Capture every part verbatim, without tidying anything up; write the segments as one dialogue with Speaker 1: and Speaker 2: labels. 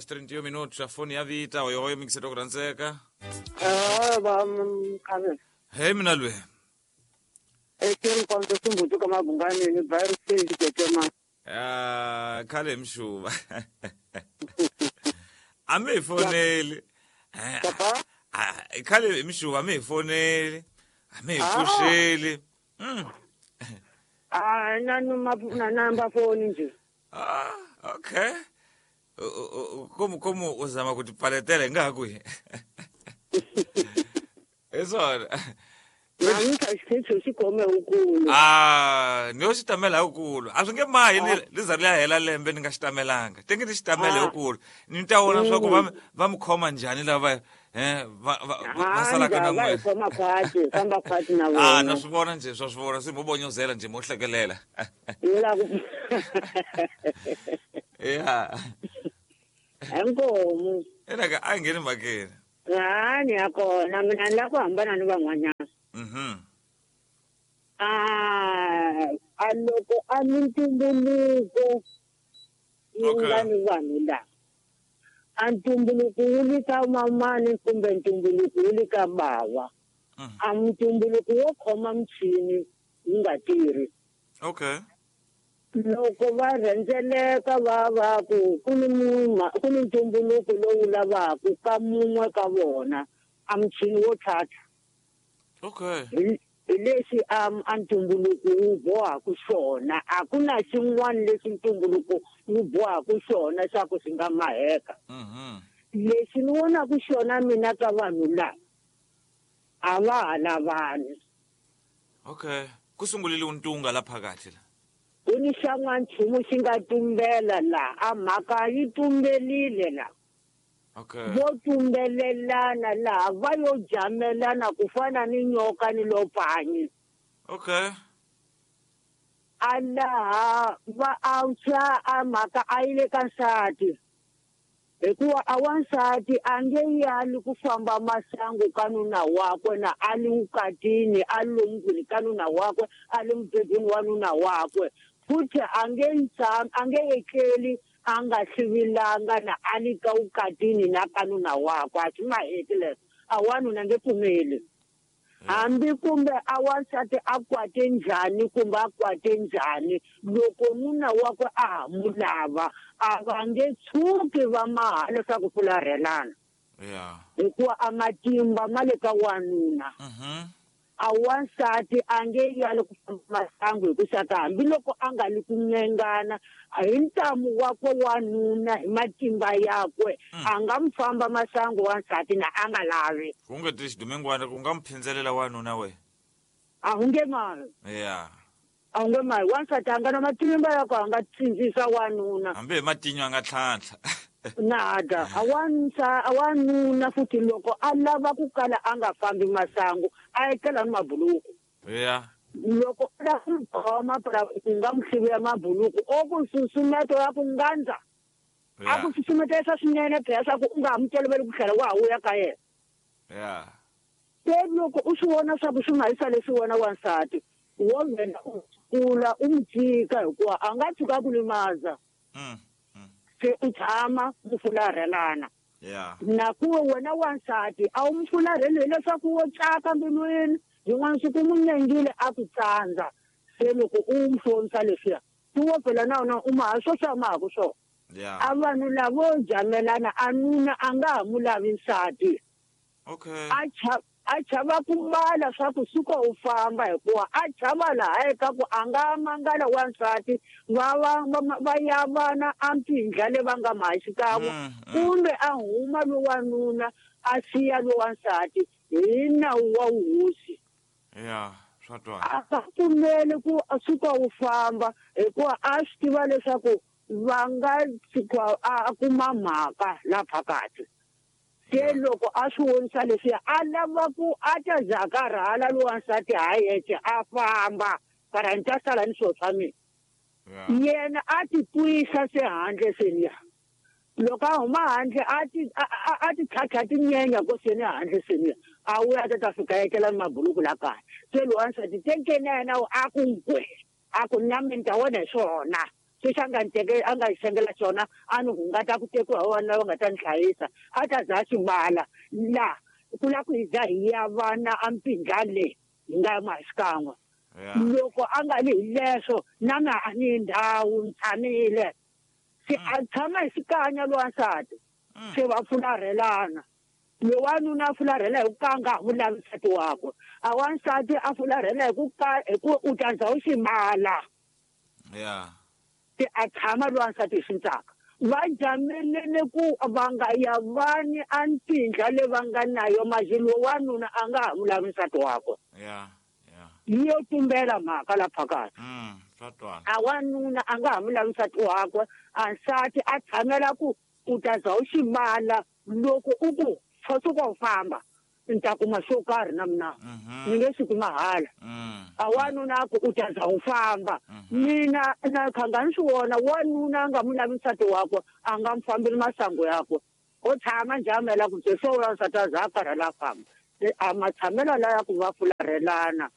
Speaker 1: horas trinta e um minutos. A fone ya vita, oi oi, mixer do Granseca.
Speaker 2: Ah, vamos, cara.
Speaker 1: Hey, mina lwe.
Speaker 2: É que eu conto simbuto kama bungane ni virus ke ma.
Speaker 1: Ah, khale mshuba. Ame fonele.
Speaker 2: Papa?
Speaker 1: Ah, khale mshuba ame fonele. Ame fushele. Mm.
Speaker 2: Ah, nanu na namba phone nje.
Speaker 1: Ah, okay. Como como uzama kuti paletele ngakwi. Eso.
Speaker 2: Namuhla xiphiqo xi kome ukulu.
Speaker 1: Ah, ni yo xi tamela ukulu. A swi nge mahi li za ri ya hela lembe ni nga xi tamelanga. Te nge ni xi tamele ukulu. Ni ta vona swa ku va va mi khoma njhani lava eh va va salaka na n'wina.
Speaker 2: Va khoma khwati, famba khwati na vona.
Speaker 1: Ah, na swi vona nje swa swi vona se mo bonyozela nje mo hlekelela.
Speaker 2: Ni la ku
Speaker 1: Yeah.
Speaker 2: Inkomu.
Speaker 1: Ena ka a ngheni mhakeni.
Speaker 2: Ah, ni ya kona mina ni lava ku hambana ni van'wanyana.
Speaker 1: Mhm.
Speaker 2: Ah, a loko a mintumbuluko yi nga ni vanhu lava. A ntumbuluko wu le ka mamani kumbe ntumbuluko wu le ka bava. A ntumbuluko wo khoma muchini wu nga tirhi.
Speaker 1: Okay.
Speaker 2: Loko va rhendzeleka va va ku ku ni ku ni ntumbuluko lowu lavaka ka mun'we ka vona a muchini wo tlhatlha.
Speaker 1: Okay.
Speaker 2: Hi lexi a a ntumbuluko wu bohaka xona a ku na xin'wana lexi ntumbuluko wu bohaka xona xa ku xi nga maheka.
Speaker 1: Mhm.
Speaker 2: Lexi ni vonaka xona mina ka vanhu lava a va ha lavani.
Speaker 1: Okay. Ku sungulile untunga la phakathi la.
Speaker 2: Ku ni xan'wanchumu xi nga tumbela la a mhaka yi tumbelile la.
Speaker 1: Okay.
Speaker 2: Vo tumbelelana laha va yo jamelana ku fana ni nyoka ni lopanyi.
Speaker 1: Okay.
Speaker 2: A laha va antswa a mhaka a yi le ka nsati. Hikuva a wansati a nge yali ku famba masangu ka nuna wakwe na a li vukatini a li lomundlwini ka nuna wakwe a li mubedweni wa nuna wakwe. Futhi a nge tshami a nge etleli a nga hlivilanga na a li ka vukatini na ka nuna wakwe a swi maheti leswo a wanuna nge pfumeli. Hambi kumbe a wansati a kwate njhani kumbe a kwate njhani loko nuna wakwe a ha mu lava a va nge tshuki va maha leswaku fularhelana.
Speaker 1: Yeah.
Speaker 2: Hikuva a matimba ma le ka wanuna.
Speaker 1: Mhm.
Speaker 2: A wansati a nge yali ku famba masangu hi ku xaka hambiloko a nga li ku nyengana hi ntamu wakwe wanuna hi matimba yakwe a nga mu famba masangu wansati na a nga lavi.
Speaker 1: Ku nge ti xidumengwana ku nga mu phindelela wanuna we.
Speaker 2: A wu nge mali.
Speaker 1: Yeah.
Speaker 2: A wu nge mali wansati a nga na matimba yakwe a nga tsindzisa wanuna.
Speaker 1: Hambi hi matinyo a nga tlhantlha.
Speaker 2: Nada a wansa a wanuna futhi loko a lava ku kala a nga fambi masangu a etlela ni mabuluku.
Speaker 1: Yeah.
Speaker 2: Loko a lava ku khoma phela ku nga mu hlivela mabuluku o ku susumeto ya ku ngandza. A ku susumetesa swinene phela swa ku u nga ha mu toloveli ku tlhela wa ha vuya ka yena.
Speaker 1: Yeah.
Speaker 2: Se loko u swi vona swa ku swi nga yisa leswi wena wansati wo vhela u kula u mu tshika hikuva a nga tshuka ku limaza.
Speaker 1: Mm.
Speaker 2: Se u tshama mu fularhelana.
Speaker 1: Yeah.
Speaker 2: Na ku wena wansati a wu mu fularheli hileswaku wo tsaka mbilwini yin'wana siku mu nyengile a ku tsandza se loko u mu hlonisa leswiya ku wo phela na wona u maha swo swa mahaku swona.
Speaker 1: Yeah.
Speaker 2: A vanhu lavo jamelana a nuna a nga ha mu lavi nsati.
Speaker 1: Okay.
Speaker 2: A cha a chava ku mbala swa ku suka u famba hikuva a chava laha eka ku a nga mangala wansati va va va ya vana a mpindla le va nga maha xikan'we kumbe a huma lo wanuna a siya lo wansati hi nawu wa wuhosi.
Speaker 1: Yeah, swa twala.
Speaker 2: A nga pfumeli ku suka u famba hikuva a swi tiva leswaku va nga tshuka a kuma mhaka la phakathi. Se loko a swi vonisa leswiya a lava ku a ta za a karhala lo wansati ha yexe a famba kara ni ta sala ni swilo swa mina. Yena a ti twisa se handle seniya. Loko a huma handle a ti a ti tlhatlha tinyenya ko seni handle seniya a vuya a ta ta fika etlela ni mabuluku la kaya. Se lo wansati tekeni na yena a ku nkwe a ku na mina ni ta vona hi swona. Xexi a nga ni teke a nga xengela xona a ni hungata ku tekiwa hi wona va nga ta ni hlayisa a ta za a xi mbala la ku la ku hi za hi ya vana a mpindla le hi nga ma xikan'we loko a nga vi hi leswo na mina a ni ndhawu ni tshamile se a tshama hi xikanya lowansati se va fularhelana lowanuna a fularhela hi ku ka a nga ha n'wi lavi nsati wakwe a wansati a fularhela hi ku ka hi ku u ta za u xi mbala
Speaker 1: ya
Speaker 2: se a tshama lowansati hi xintsaka va jamelele ku va nga ya vani a mpindla le va nga nayo maji lowanuna a nga ha n'wi lavi nsati wakwe
Speaker 1: ya ya
Speaker 2: yi yo tumbela mhaka la phakathi
Speaker 1: mm swa twala
Speaker 2: a wanuna a nga ha n'wi lavi nsati wakwe a nsati a tshamela ku u ta za u xi mbala loko u ku suka u famba ni ta kuma xo karhi na mina ni nge swi kuma hala a wanuna a ku u ta za u famba mina na khanga ni swi vona wanuna a nga n'wi lavi nsati wakwe a nga n'wi fambeli masangu yakwe o tshama njhamela ku se swo vula nsati a za a karhala a famba a matshamelo laya ku va fularhelana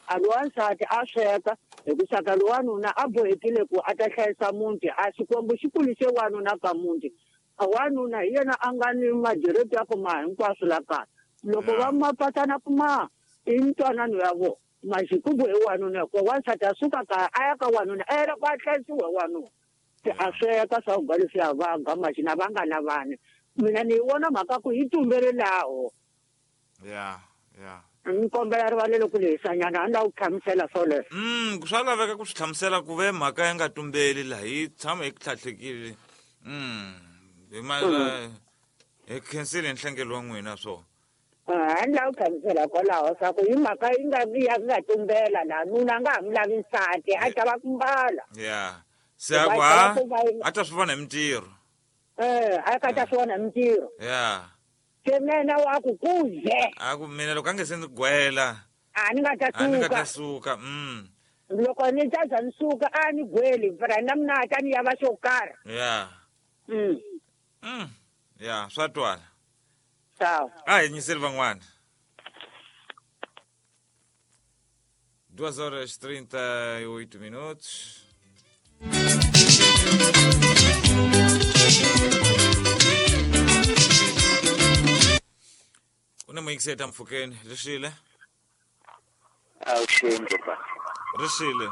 Speaker 2: a lowansati a sweka hi ku saka lowanuna a bohekile ku a ta hlayisa muti a xikwembu xi kulise wanuna ka muti a wanuna hi yena a nga ni madireti ya ku ma hinkwaswo la kaya loko va mapatana ku ma i ntwanano ya vona maxikubu hi wanuna hikuva wansati a suka kaya a ya ka wanuna a yela ku a hlayisiwa hi wanuna se a sweka swakudya leswiya va ga maxina va nga lavani mina ni yi vona mhaka ku yi tumbelelaho
Speaker 1: ya ya
Speaker 2: ni kombela rivalelo ku lehisanyana a ni lava ku hlamusela swoleswo
Speaker 1: mm swa laveka ku swi hlamusela ku ve mhaka ya nga tumbeli laha yi tshama yi tlhatlhekile mm hi ma hi khensile nhlengelo wa n'wina swo
Speaker 2: a ni lava ku hlamusela kwalaho swa ku hi mhaka yi nga ya nga tumbela laha nuna a nga ha n'wi lavi nsati a chava ku mbala
Speaker 1: ya se a ku ha a ta swi vona hi mintirho
Speaker 2: eh a ka ta swi vona hi mintirho
Speaker 1: ya
Speaker 2: se mina wa ku kuze
Speaker 1: a ku mina loko a nge se ndzi gwela
Speaker 2: a ni nga ta
Speaker 1: a ni nga ta
Speaker 2: suka
Speaker 1: suka mm
Speaker 2: loko ni ta za ni suka a ni gweli mara na mina a ta ni yava xo karhi
Speaker 1: ya
Speaker 2: mm
Speaker 1: mm ya swa twala
Speaker 2: sawa
Speaker 1: a hi nyiseli van'wana duas horas trinta e oito minutos. Une muyikiseta mpfhukeni rixile
Speaker 3: awuxeni papa
Speaker 1: rixile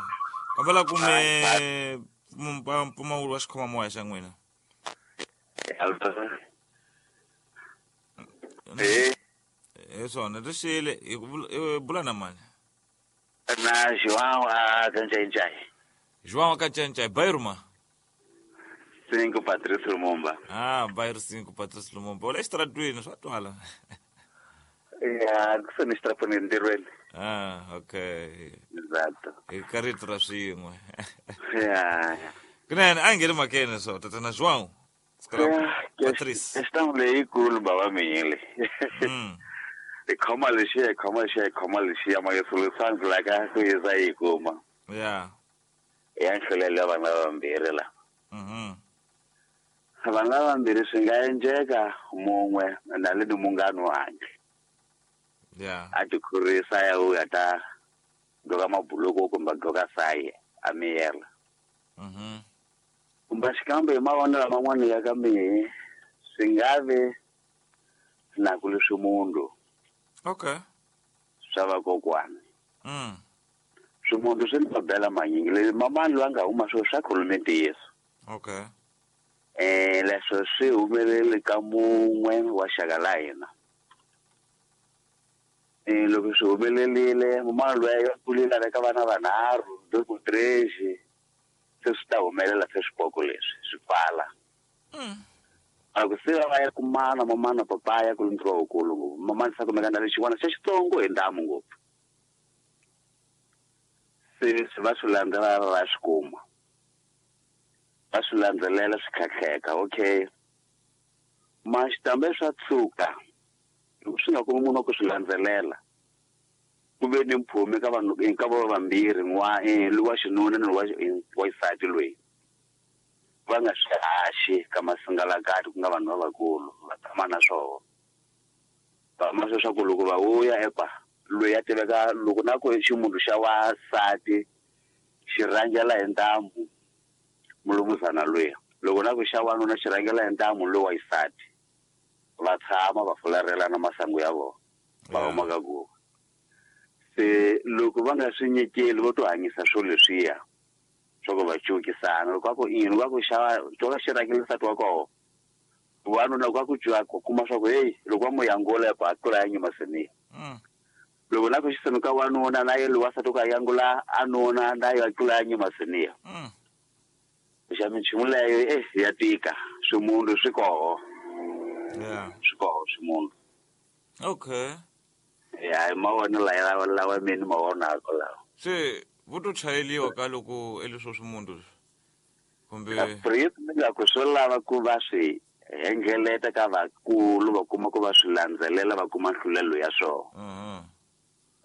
Speaker 1: kombela kume mpfumawulo wa xikhomamoya xa n'wina
Speaker 3: eh
Speaker 1: hi swona rixile hi ku bula na mani
Speaker 3: na João a Kanchanchay
Speaker 1: João a Kanchanchay bairro ma
Speaker 3: cinco Patrício Lumumba
Speaker 1: ah bairro cinco Patrício Lumumba u le xitaratwini swa twala
Speaker 3: ya kusuhi ni xitaratwini entirhweni
Speaker 1: ah okay
Speaker 3: exato
Speaker 1: hi ka rito ra swin'we
Speaker 3: ya
Speaker 1: kunene a hi ngheni makene swo tatana João Patrice
Speaker 3: questão leyikulu baba miyile
Speaker 1: mm
Speaker 3: hi khoma lexiya hi khoma lexiya hi khoma lexiya ma solution la ka ku yisa yi kuma
Speaker 1: ya
Speaker 3: ya nhlolelo ya vana vambirhi la
Speaker 1: mhm
Speaker 3: vana vambirhi swi nga endleka mun'we na le ni munghana wakhe
Speaker 1: ya
Speaker 3: a ti khorisa ya u ya ta gqoka mabuluku kumbe gqoka saye a miyela
Speaker 1: mhm
Speaker 3: kumbe xikambe hi mavonelo man'wana ya ka mihi swi nga vi na ku leswi munhu
Speaker 1: okay
Speaker 3: swa vakokwana
Speaker 1: mm
Speaker 3: swimunhu swi ni mabela manyingi leswi mamani loyi a nga huma swo swa khulume ntiyiso
Speaker 1: okay
Speaker 3: eh leswo swi humelele ka mun'we wa xaka la hina eh loko swi humelerile mamani loyi a kulile a veka vana vanharhu dois três se swi ta humelela se swipoko leswi swi pfala
Speaker 1: mm
Speaker 3: a ku se va ya kumana mamana papaya ku ntirho wukulu ngopfu mamani sa kumeka na lexin'wana xa xitsongo hi ndamu ngopfu se swi va swi landzelela va swi kuma va swi landzelela swi khakheka okay maxitambe swa tshuka loko swi nga kumi munhu wa ku swi landzelela ku ve ni mpfhumi ka vanhu ka vo vambirhi n'wa lowa xinuna ni lowa wa xisati loyi va nga swi haxi ka masingalakati ku nga vanhu lavakulu va tshama na swona va ma leswaku loko va vuya epa loyi a tiveka loko na ku ximunhu xa wasati xi rhangela hi ntambu Mulumuzana luya loko na ku xa wanuna xi rhangela hi ntamu lowu wa xisati va tshama va fularhelana masangu ya vona va huma ka guva se loko va nga swi nyikeli vo to hanyisa swilo leswiya swa ku va cukisana loko a ku ini va ku xava to xi rhangela nsati wa koho wanuna loko a ku cwa ku kuma swa ku heyi loko va mu yangula ku a tlula ya nyuma seniya loko na ku xisenu ka wanuna na ye lowa nsati ku a yangula a nuna na yo a tlula ya nyuma seniya xa minchumu leyo eh ya tika swimunhu swi koho
Speaker 1: yeah
Speaker 3: swi koho swimunhu
Speaker 1: okay
Speaker 3: ya mavona lawa lawa mina ma vonaka lawa
Speaker 1: se vo to chayeliwa ka loko eleswo swimunhu kumbe
Speaker 3: mi nga ku swo lava ku va swi hengeleta ka vakulu va kuma ku va swi landzelela va kuma nhlulelo ya swona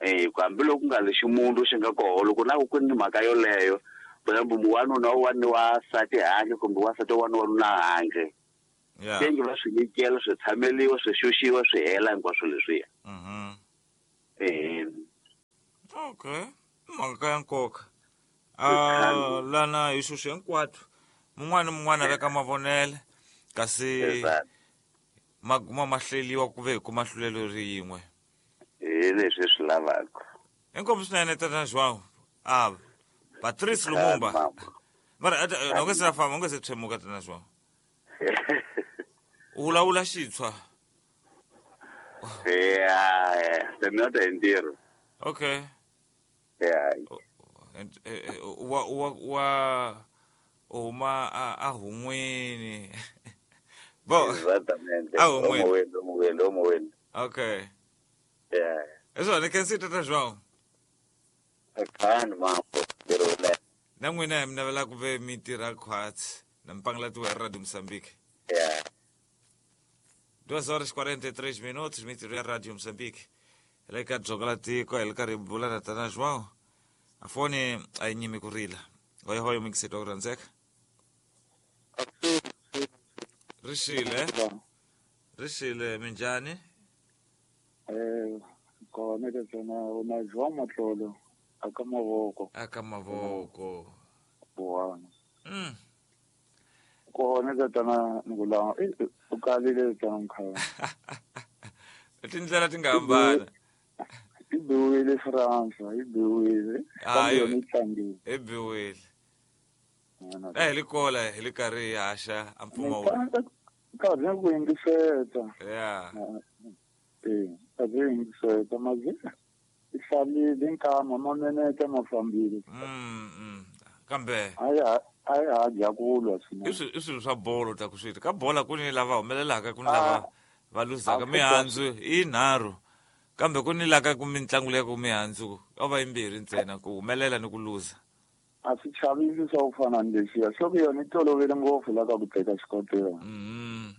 Speaker 3: eh hambiloko ku nga lexi munhu xi nga koho loko na ku ni mhaka yoleyo for example wanuna wa ni wansati handle kumbe wansati wa ni wanuna handle
Speaker 1: yeah
Speaker 3: tengi va swi nyikela swi tshameliwa swi xuxiwa swi hela hinkwaswo leswiya
Speaker 1: mhm
Speaker 3: eh
Speaker 1: okay mhaka ya nkoka ah lana hi xuxa hinkwato mun'wana ni mun'wana veka mavonele kasi maguma ma hleliwa ku ve hi kuma hlulelo rin'we
Speaker 3: hi leswi swi lavaka
Speaker 1: inkomu swinene tata João ah Patrice Lumumba mara u nga se famba u nga se tshemuka tata João u vulavula xitshwa
Speaker 3: yeah se mi ta ntirho
Speaker 1: okay
Speaker 3: yeah
Speaker 1: wa wa wa huma a hun'wini bo
Speaker 3: exatamente
Speaker 1: a hun'wini
Speaker 3: hun'wini hun'wini
Speaker 1: okay
Speaker 3: yeah
Speaker 1: eswona khensi tata João
Speaker 3: akhani mambo
Speaker 1: na n'wina mi navela ku ve mi tirha khwatsi na mpangela tiwa ya Radio Moçambique
Speaker 3: yeah
Speaker 1: duas horas e quarenta e três minutos mintirho ya Radio Moçambique hi le ka dzonga la tiko hi le karhi hi bula na tata João a foni a yi nyimi ku rila hoyohoyo mingiseti wa ku rhandzeka ri xile ri xile minjhani
Speaker 4: eh kona ke tsena na João Matlolo aka mavoko
Speaker 1: aka mavoko
Speaker 4: buwana
Speaker 1: mm
Speaker 4: kona ke tsena ngula u kalile tsena mkhaya
Speaker 1: tindlela ti nga hambana
Speaker 4: i biwile France i biwile
Speaker 1: kambe
Speaker 4: yona yi tlangile
Speaker 1: i biwile eh hi likola hi le karhi hi haxa a mpfumawulo
Speaker 4: nkarhi ku yingiseta
Speaker 1: yeah
Speaker 4: eh nkarhi ku yingiseta mazi i hlalile nkama mamenete ma fambile
Speaker 1: mm mm kambe
Speaker 4: a ya a ya dya ku lwa swinene
Speaker 1: i swilo swa bolo ta ku swi ka bola ku ni lava humelelaka ku ni lava va luzaka mihandzu i nharhu kambe ku ni laka ku mitlangu leyi ku mihandzu o va yimbirhi ntsena ku humelela ni ku luza
Speaker 4: a swi chavisi swa ku fana ni lexiya swa ku yona yi tolovele ngopfu la ka ku teka xikotela
Speaker 1: mm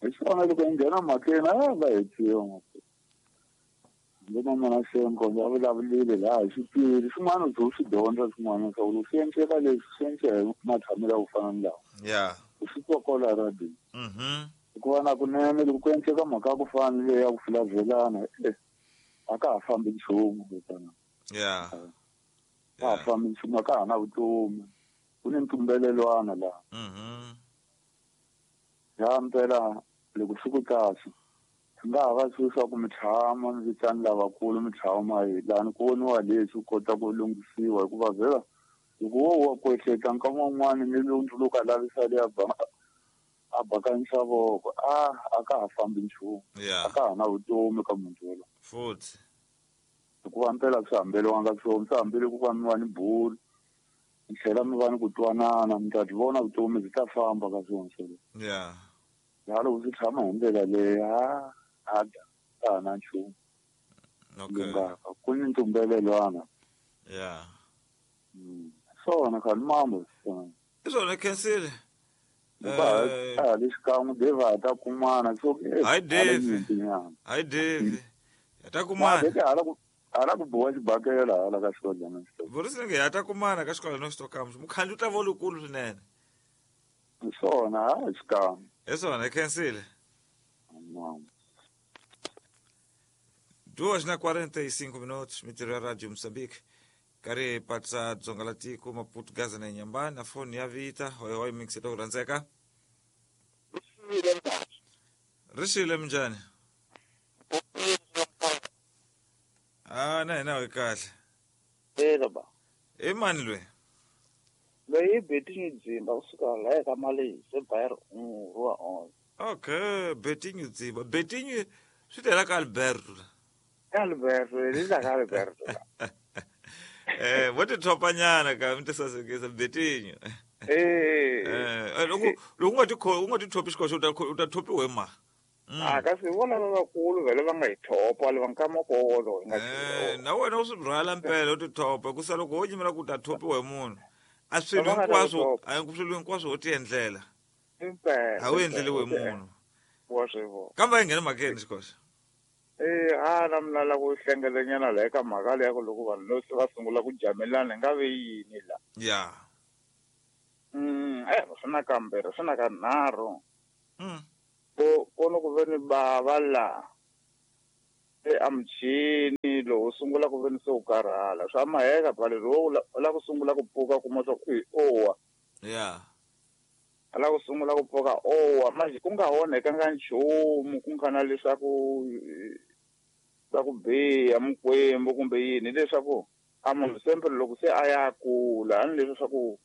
Speaker 4: hi swona loko yi nghena mhakeni a va hetiwa hambi na mina Senko a vulavulile laha hi xipiri swin'wana u ze u swi dyondza swin'wana swa ku swi endleka leswi swi endle hi matshamelo ya ku fana ni lawa
Speaker 1: yeah
Speaker 4: u swi twa kwala radio
Speaker 1: mhm
Speaker 4: hikuva na kunene loko ku endleka mhaka ya ku fana ni leyi ya ku fulavelana e a ka ha fambi nchumu kutana
Speaker 1: yeah
Speaker 4: ka ha fambi nchumu a ka ha na vutomi ku ni ntumbelelwana laha
Speaker 1: mhm
Speaker 4: ya mpela loko swi ku kahle swi nga ha va swilo swa ku mi tshama mi vitani lavakulu mi tshama hi lani ku voniwa leswi kota ku lunghisiwa hikuva vhela loko wo wa ku ehleketa nkama wun'wani ni lunduluka lavisa leya ba a bakanyisa voko a a ka ha fambi nchumu a ka ha na vutomi ka munhu yoloye
Speaker 1: futhi
Speaker 4: hikuva mpela swi hambeliwanga swona swi hambele ku va mi va ni bulu mi tlhela mi va ni ku twanana mi ta byi vona vutomi byi ta famba ka swona swoleswo
Speaker 1: yeah
Speaker 4: ya loko swi tshama hi ndlela leyi a a ka ha na nchumu
Speaker 1: okay
Speaker 4: lungaka ku ni ntumbelelwana
Speaker 1: yeah
Speaker 4: swona khani mambo swona
Speaker 1: i swona khensile
Speaker 4: a le xikan'we Dave a ta kumana so
Speaker 1: hayi Dave hayi Dave ya ta kumana
Speaker 4: hala ku hala ku boha xibakela hala ka xikolo
Speaker 1: Vurisi nge ya ta kumana ka xikolo no xitokamu mukhandlu ta vo lukulu swinene
Speaker 4: swona ha xikan'we
Speaker 1: hi swona khensile duas na quarenta e cinco minutos mintirho ya Radio Moçambique. Karhi patsa dzonga la tiko Maputo Gaza na Nyamba na foni ya vita hoy hoy mixito ku rhandzeka. Rixile minjhani? Ah na hina hi kahle.
Speaker 5: Eka ba.
Speaker 1: I mani loyi?
Speaker 5: Loyi i Betinho Dzimba kusuka laha ka Malehisa Bayern wa on.
Speaker 1: Okay, Betinho Dzimba. Betinho swi tela ka Alberto.
Speaker 5: Alberto, li la ka Alberto.
Speaker 1: Eh, vo ti thopanyana ka mi ti sasekisa Betinho.
Speaker 5: Eh.
Speaker 1: Eh, loko loko u nga ti u nga ti thopi xikoxo u ta u ta thopiwa hi ma.
Speaker 5: A kasi vona lavakulu vhele va nga hi thopa le va nkamakolo hi nga
Speaker 1: Eh, na wena u swi rhwala mpela u ti thopa ku sa loko wo nyimela ku ta thopiwa hi munhu. A swilo hinkwaswo, a swilo hinkwaswo u ti endlela.
Speaker 5: Impela.
Speaker 1: A wu endleliwe hi munhu.
Speaker 5: Wa swi vona.
Speaker 1: Kambe a yi ngheni mhakeni xikoxo.
Speaker 5: Eh, a na mina la ku hlengelanyana la eka mhaka leya ku loko vanhu lo se va sungula ku jamelana hi nga ve yini la.
Speaker 1: Ya.
Speaker 5: Mm, eh, swi na kambirhi, swi na ka nharhu.
Speaker 1: Mm.
Speaker 5: Ko ko no ku ve ni bava la e a muchini lowu sungula ku ve ni se u karhala swa maheka phela lowu u la ku sungula ku pfuka kuma swa ku owa.
Speaker 1: Ya.
Speaker 5: A la ku sungula ku pfuka owa manje ku nga onhekanga nchumu ku nga na leswaku swa ku biha mikwembu kumbe yini leswaku a munhu sempre loko se a ya kula a ni leswi swa ku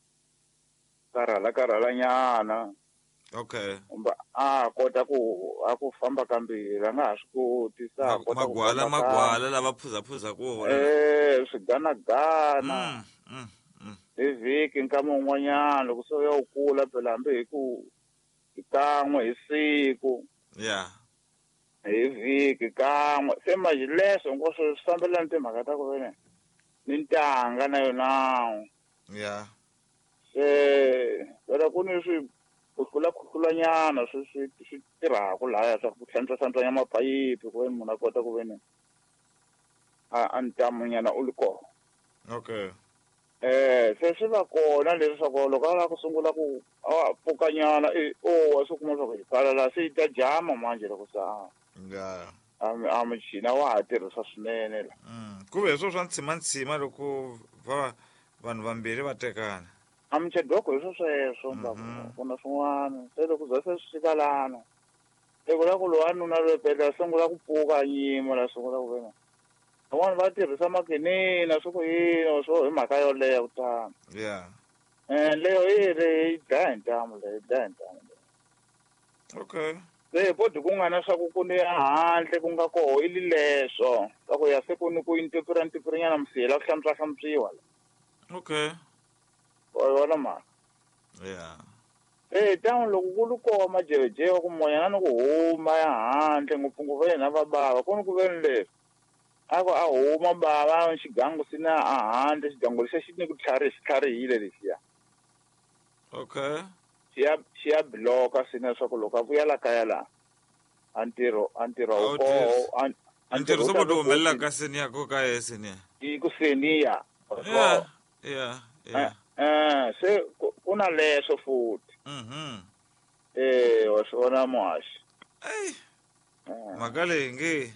Speaker 5: karhala karhalanyana.
Speaker 1: Okay.
Speaker 5: Kumbe a kota ku a ku famba kambirhi a nga ha swi koti sa kota ku
Speaker 1: magwala magwala lava phuzaphuza ku wona.
Speaker 5: Eh, swiganagana.
Speaker 1: Mm, mm.
Speaker 5: Hi vhiki nkama wun'wanyana loko se u ya u kula phela hambi hi ku hi kan'we hi siku.
Speaker 1: Yeah.
Speaker 5: Hi vhiki kan'we se manje leswo hinkwaswo swi fambelana timhaka ta ku vene ni ntanga na yona.
Speaker 1: Yeah.
Speaker 5: Se phela ku ni swi khuhlula khuhlulanyana swi swi swi tirhaka lahaya swa ku hlantswa hlantswanya maphayiphi ku veni munhu a kota ku veni a a ntamunyana u li kona.
Speaker 1: Okay.
Speaker 5: Eh, se swi va kona leswaku loko a lava ku sungula ku a pfukanyana e owa swi kuma swa ku hi pfala laha se yi ta jama manje loko se a
Speaker 1: Yeah.
Speaker 5: a muchini wa ha tirhisa swinene la.
Speaker 1: Mm, ku ve hi swo swa ntshima-ntshima loko va vanhu vambirhi va tekana.
Speaker 5: A muchadoko hi swo sweswo ku na swin'wana se loko za se swi fika lana loko la ku lowanuna loyi phela a sungula ku pfuka a nyima la sungula ku vena van'wani va tirhisa makinina swi ku yini swo hi mhaka yoleyo ku tano.
Speaker 1: Yeah.
Speaker 5: Eh, leyo yi ri yi dlaya hi ntamu leyo yi dlaya hi ntamu leyo.
Speaker 1: Okay.
Speaker 5: Se bodi ku nga na swa ku ku ni ehandle ku nga koho i li leswo swa ku ya se ku ni ku intipira ntipirinyana musiyela ku hlantswa hlantswiwa la.
Speaker 1: Okay.
Speaker 5: Wa yona mhaka.
Speaker 1: Yeah.
Speaker 5: Eh, tano loko ku ri koho majevejewe ku moyana ni ku huma ya handle ngopfungopfu yena va bava ku ni ku veni leswi a ku a huma bava xigangu sina a handle xigangu lexiya xi ni ku tlhariha xi tlharihile lexiya.
Speaker 1: Okay.
Speaker 5: Xi ya xi ya bloka sina leswaku loko a vuya la kaya la a ntirho a ntirho wu koho
Speaker 1: a ntirho se vo humelela ka seniya ko ka ye seniya.
Speaker 5: I ku seniya.
Speaker 1: Yeah. Yeah. Yeah.
Speaker 5: Eh, se ku na leswo futhi.
Speaker 1: Mhm.
Speaker 5: Eh, wa swi vona muhaxi.
Speaker 1: Ey. Mhaka leyi nge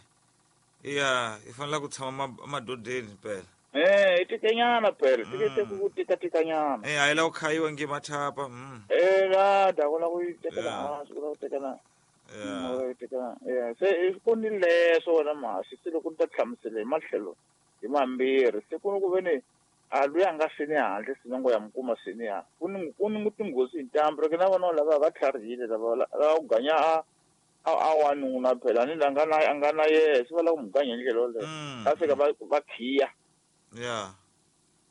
Speaker 1: ya i fanele ku tshama emadodeni phela.
Speaker 5: Eh, i tikenyana phela, tike ku tika tikanyana.
Speaker 1: Eh, a yi la ku khayiwa nge mathapa. Mm.
Speaker 5: Eh, la da ku la ku tekela hansi, ku la ku tekela.
Speaker 1: Yeah.
Speaker 5: Ku tekela. Yeah, se ku ni leswo wena muhaxi, se loko ni ta hlamusela hi matlhelo hi mambirhi, se ku ni ku veni a luya a nga seni handle sinongo ya mukuma seni ya ku ni ku ni tinghozi hi ntambu loko na vona lava va tlharihile lava lava ku ganya a a a wanuna phela ni la nga na a nga na yehe se va lava ku mu ganya hi ndlela yoleyo va fika va va khiya.
Speaker 1: Yeah.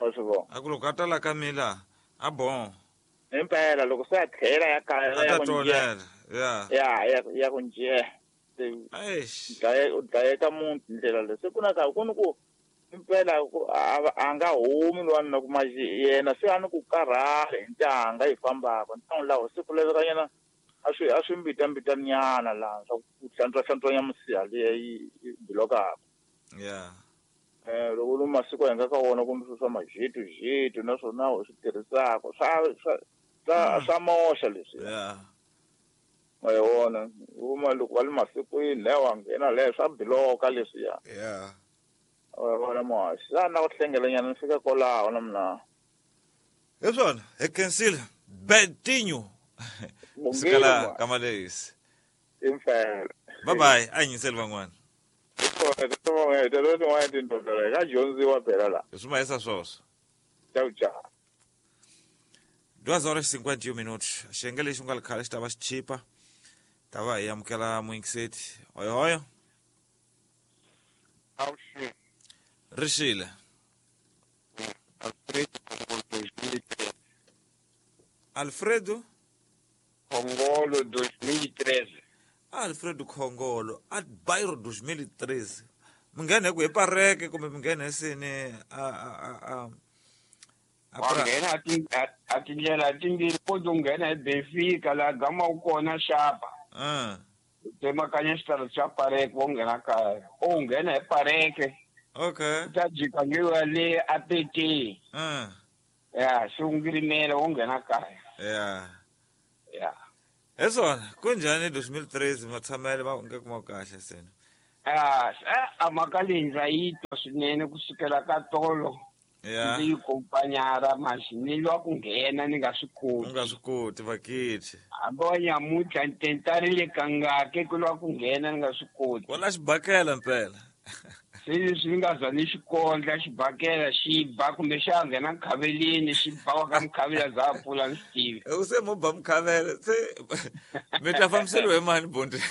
Speaker 5: Wa swi vona.
Speaker 1: A ku loko a ta la ka mina a bon.
Speaker 5: Impela loko se a tlhela ya kaya
Speaker 1: a ta tonela. Yeah.
Speaker 5: Ya ya ya ku njhe.
Speaker 1: Eish.
Speaker 5: Dlaye u dlayeka munhu hi ndlela leyi se ku na ka ku ni ku impela a nga humi lwanuna kuma yena se a ni ku karhala hi ntanga yi fambaka ntangu lawo se ku lavekanyana a swi a swi mbitambitanyana laha swa ku hlantswa hlantswanya misiha leyi yi bilokaka.
Speaker 1: Yeah.
Speaker 5: Eh, loko lu masiku hi nga ka wona kumbe swilo swa majitu jitu naswona u swi tirhisaka swa swa swa swa moxa leswi.
Speaker 1: Yeah.
Speaker 5: Wa yi vona uma loko va le masikwini lewa nghena leyo swa biloka leswiya.
Speaker 1: Yeah.
Speaker 5: Wena muhaxi la na ku hlengelanyana ni fika kwalaho na mina.
Speaker 1: Hi swona hi khensile Betinho sikala ka Malehisi.
Speaker 5: Impela.
Speaker 1: Bye bye, a hi nyiseli van'wana.
Speaker 5: Ka dyondziwa phela la.
Speaker 1: Swi mahisa swoswo.
Speaker 5: Ciao ciao.
Speaker 1: Duas horas e cinquenta e um minutos. Xiyenge lexi nga ri khale xi ta va xi chipa. Ta va hi amukela muyingiseti. Hoyohoyo. Rixile. Alfredo
Speaker 6: Khongolo dois mil e treze.
Speaker 1: Alfredo Khongolo a bairro dois mil e treze. Mi nghena hi ku hi pareke kumbe mi nghena hi sini a a a a
Speaker 6: wa nghena a tindlela timbirhi ko to nghena hi Benfica laha gama wu kona xapa.
Speaker 1: Ah.
Speaker 6: Tsemakanya xitalo xa pareke wo nghena kaya. O nghena hi pareke.
Speaker 1: Okay.
Speaker 6: Ta jika ngiwa le A P T.
Speaker 1: Ah.
Speaker 6: Ya, xi ungirimela wo nghena kaya.
Speaker 1: Yeah.
Speaker 6: Yeah.
Speaker 1: Hi swona kunjhani dois mil e treze matshamele va nge kuma kahle sena.
Speaker 6: Ah, a mhaka leyi ndza yi twa swinene kusukela ka tolo.
Speaker 1: Yeah.
Speaker 6: Ndzi yi kompanyara maxi ni lwa ku nghena ni nga swi koti.
Speaker 1: U nga swi koti vakithi.
Speaker 6: Hambi wa nyamuntlha ni tentarile kangaki ku lwa ku nghena ni nga swi koti.
Speaker 1: Wala xibakela mpela.
Speaker 6: Se leswi ni nga za ni xikondla xibakela xi ba kumbe xa nghena nkhaveleni xi ba wa ka mukhavela za pfula ni swi tivi.
Speaker 1: U se mo ba mukhavela se mi ta fambiseliwa hi mani bundi.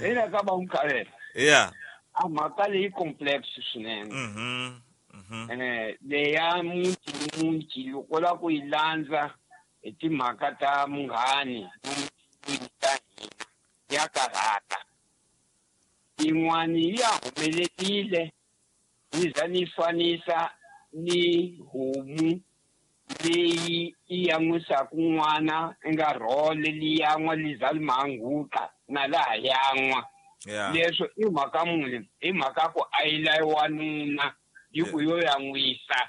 Speaker 6: Ina ka ba mukhavela.
Speaker 1: Yeah.
Speaker 6: A mhaka leyi complex swinene.
Speaker 1: Mhm. Mhm.
Speaker 6: Eh leya muti muti loko la ku yi landza hi timhaka ta munghani ta hina ya karhata. Yin'wani ya humelerile ni za ni fanisa ni homu leyi yi yan'wisaka n'wana i nga rhole liyan'wa li za li mahanguka na laha yan'wa. Leswo i mhaka muni? I mhaka ku a yi layi wanuna yi ku yo yan'wisa.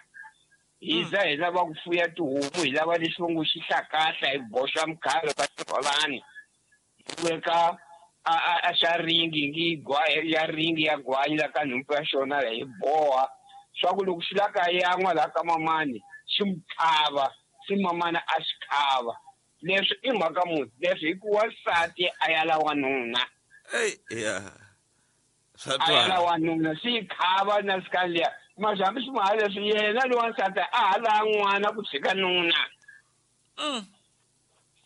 Speaker 6: Hi za hi lava ku fuya tihomu hi lava lexi va ngo xi hlakahla hi boxa mukhalo ka xirholani hi veka a a xa ringi ngi gwa ya ringi ya gwanyi la ka nhompfu ya xona hi boha swa ku loko xi la ka yan'wa laha ka mamani xi mu khava xi mamana a xi khava. Leswi i mhaka muni? Leswi hi ku wansati a ya la wanuna.
Speaker 1: Ey yeah.
Speaker 6: A ya la wanuna xi khava na sika liya mara hambi swi maha leswi yena loyi wansati a ha la n'wana ku tshika nuna.
Speaker 1: Mm.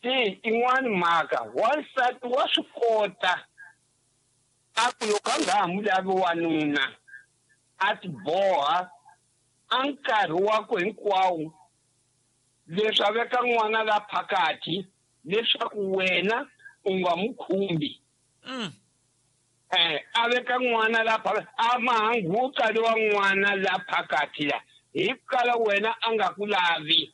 Speaker 6: Se yin'wani mhaka wansati wa swi kota a ku loko a nga ha mu lavi wanuna a ti boha a nkarhi wakwe hinkwawo leswi a veka n'wana la phakathi leswaku wena u nga mu khumbi.
Speaker 1: Mm.
Speaker 6: Eh a veka n'wana la phakathi a mahanguka lowa n'wana la phakathi la hi kala wena a nga ku lavi.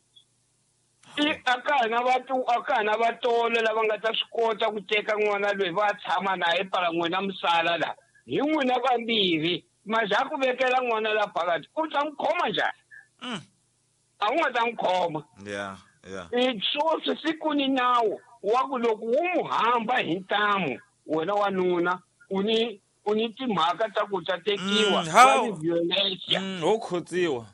Speaker 6: I a ka ha na vatu a ka ha na vatolo lava nga ta swi kota ku teka n'wana loyi va tshama na ye pala n'wina misala la hi n'wina vambirhi maza ku vekela n'wana la phakathi u ta n'wi khoma njhani?
Speaker 1: Mm.
Speaker 6: A wu nga ta n'wi khoma.
Speaker 1: Yeah, yeah.
Speaker 6: I swoswi siku ni nawu wa ku loko wu mu hamba hi ntamu wena wanuna u ni u ni timhaka ta ku ta tekiwa
Speaker 1: Mm, how?
Speaker 6: wa violencia.
Speaker 1: Mm, wo khotsiwa.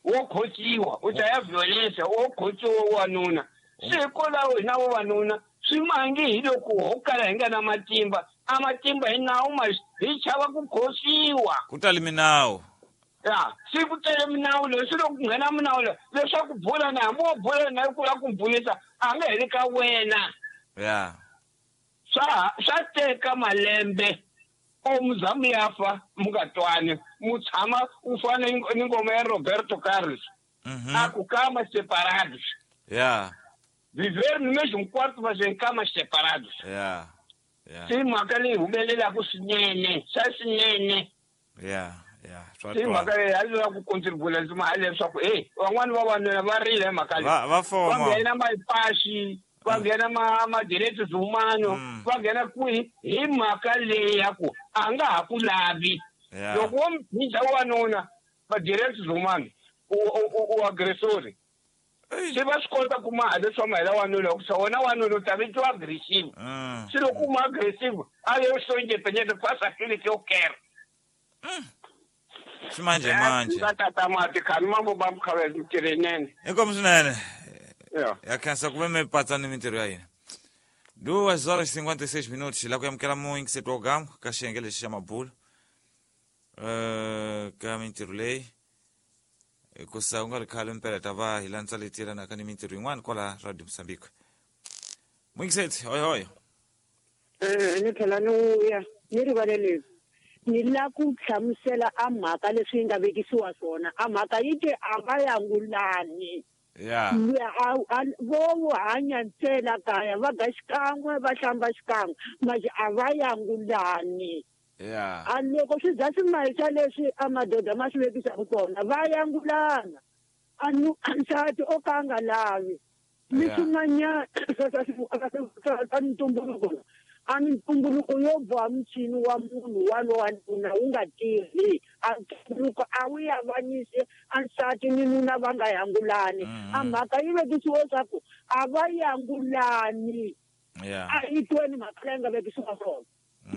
Speaker 6: Wo khotsiwa u ta ya violencia wo khotsiwa wanuna. Se hikwalaho hina vavanuna swi mangi hi loko ho kala hi nga na matimba a matimba hi nawu ma hi chava ku khosiwa.
Speaker 1: Ku tali minawu.
Speaker 6: Ya, se ku tele minawu leyi swi loko ku nghena minawu leyi leswaku bula na hambi wo bula na ku lava ku bulisa a nga heli ka wena.
Speaker 1: Yeah.
Speaker 6: Swa swa teka malembe o mu za mu ya fa mu nga twani mu tshama u fana ni ngoma ya Roberto Carlos.
Speaker 1: Mhm.
Speaker 6: A ku cama separados.
Speaker 1: Yeah.
Speaker 6: Viver no mesmo quarto mas em camas separados.
Speaker 1: Yeah. Yeah.
Speaker 6: Se mhaka leyi humelelaka swinene swa swinene.
Speaker 1: Yeah, yeah. Swa
Speaker 6: Se mhaka leyi a lava ku contribute ndzi ma leswaku hey van'wani vavanuna va rile hi mhaka leyi.
Speaker 1: Va va
Speaker 6: Va
Speaker 1: foma.
Speaker 6: nghena mapaxi va nghena ma ma direitos humanos
Speaker 1: Mm.
Speaker 6: va nghena kwihi hi mhaka leyi ya ku a nga ha ku lavi.
Speaker 1: Yeah.
Speaker 6: Loko wo mphinja wanuna va direitos humanos u u u agressori.
Speaker 1: Ey.
Speaker 6: Se va swi kota ku maha leswa mahela wanuna ku sa wona wanuna u ta vitiwa aggressive.
Speaker 1: Mm.
Speaker 6: Se loko u ma aggressive a yo sou independente faça aquilo que eu quero.
Speaker 1: Mm. Ximanje manje.
Speaker 6: Tata mati khani mambo ba mkhawe mtirenene.
Speaker 1: Inkomu swinene.
Speaker 6: Ya.
Speaker 1: Ya khensa ku ve mi patsa ni mintirho ya hina. Duas horas e cinquenta e seis minutos la ku amukela muyingiseti wa gamu ka xiyenge lexi xa mabulu. Eh ka mintirho leyi hikusa ku nga ri khale mpela ta va hi landza leti yelanaka ni mintirho yin'wana kwala Radio Mozambique. Muyingiseti hoy hoy.
Speaker 2: Eh ni tlhela ni vuya ni rivaleleni. Ni la ku hlamusela a mhaka leswi yi nga vekisiwa swona a mhaka yi te a va yangulani.
Speaker 1: Ya.
Speaker 2: Vo hanya ntsena kaya va ga xikan'we va hlamba xikan'we manje a va yangulani.
Speaker 1: Ya.
Speaker 2: A loko swi za swi mahisa leswi a madoda ma swi vekisaka kona va yangulana. A nsati o ka a nga lavi. Ni swin'wanyana swa ntumbuluko a ntumbuluko yo boha muchini wa munhu walowa nuna wu nga tirhi a ntumbuluko a wu yavanyisi a nsati ni nuna va nga yangulani. A mhaka yi vekisiwe leswaku a va yangulani. A yi tweni mhaka leyi nga vekisiwa swona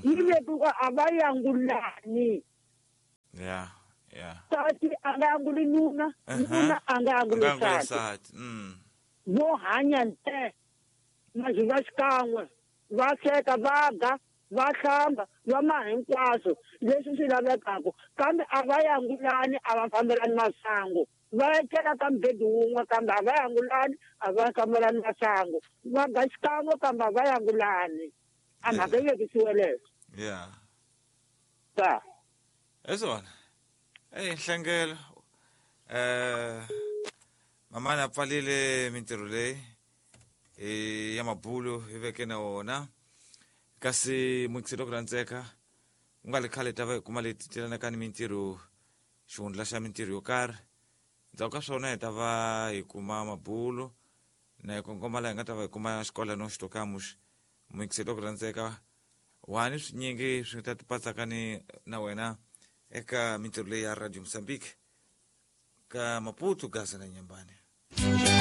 Speaker 2: yi vekiwa a va yangulani.
Speaker 1: Ya ya.
Speaker 2: Nsati a nga yanguli nuna, nuna a nga yanguli nsati. Vo hanya nte mazuva xikan'we va sweka va ga va hlamba va ma hinkwaswo leswi swi lavekaka kambe a va yangulani a va fambelani masangu va etlela ka mubedi wun'we kambe a va yangulani a va fambelani masangu va ga xikan'we kambe a va yangulani. A mhaka yi vekisiwe leswo.
Speaker 1: Ya.
Speaker 2: Ta.
Speaker 1: Hi swona. Eyi nhlengelo eh mamani a pfalile mintirho leyi ya mabulu hi veke na wona kasi muyingiseri wa ku rhandzeka ku nga ri khale ta va hi kuma leti telanaka ni mintirho xihundla xa mintirho yo karhi ndzhaku ka swona hi ta va hi kuma mabulu na hi kongoma laha hi nga ta va hi kuma xikolano xitokamuxi. Muyingiseri wa ku rhandzeka wani swinyingi swi ta tipatsaka ni na wena eka mintirho leyi ya Radio Mozambique ka Maputo, Gaza na Nyambane.